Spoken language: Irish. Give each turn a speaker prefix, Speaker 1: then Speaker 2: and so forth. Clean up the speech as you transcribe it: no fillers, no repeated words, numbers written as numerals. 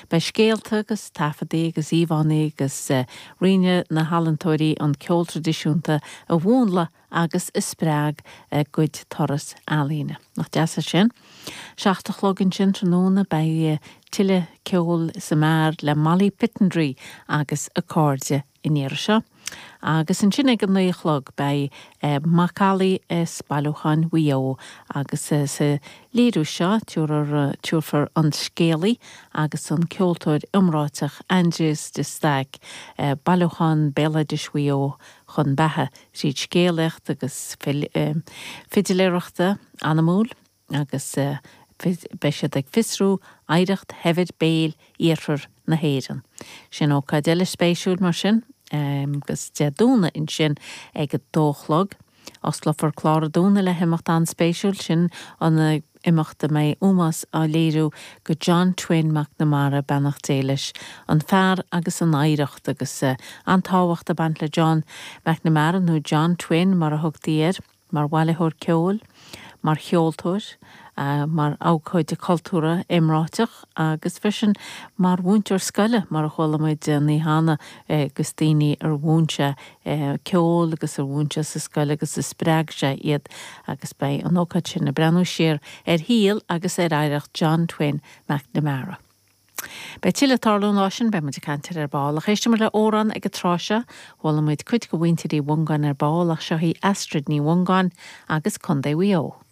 Speaker 1: Beidh scéalta agus taifeadaí agus íomhánna agus rinne na healaíontóirí an ceol traidisiúnta a mhúnlaigh agus a spreag a gcuid turas ealaíne. Nach deas é sin? 7 a chlog ansin tráthnóna beidh tuilleadh ceoil sa mbeár le Molly Pittendrigh agus a cairde an iarraidh seo. Agus ansin ag a 9 a chlog beidh macallaí as bailiúcháin Mhaigh Eo agus sa léiriú seo tabharfar an scéalaí agus an ceoltóir iomráiteach Aindrias de Staic bailiúchán béaloidis Mhaigh Eo chun beatha tríd scéalaíocht agus fidiléireachta anamúil agus beidh siad ag fiosrú oidhreacht shaibhir béil iarthar na hÉireann. Sin ócáid eile spéisiúil mar sin agus Dé Domhnaigh ansin ag a dó a chlog. Osclófar clár an Domhnaigh le himeacht an-spéisiúil, sin an imeacht a mbeidh ómós á léiriú go John Twin McNamara, beannacht Dé leis, an fear agus an oidhreacht agus an-tábhacht ag baint le John McNamara nó John Twin mar a thugtaí air. mar bhailitheoir ceoil, mar cheoltóir, mar abhcóide cultúrtha iomráiteach agus freisin mar mhúinteoir scoile, mar a chuala muid an oíche cheana agus daoine ar mhúin sé ceol agus ar mhúin sé sa scoil agus a spreag sé iad agus beidh an ócáid sin ag breathnú siar ar shaol agus ar oidhreacht John Twin McNamara. Beidh tuilleadh ag tarlú an lá sin, beidh muid ag caint air ar ball. Ach éistfidh muid le amhrán ag an tráth seo. Chuala muid cuid de mhuintir Uí Mhongáin ar ball ach seo í Astrid Ní Mhongáin agus Contae Mhaigh Eo.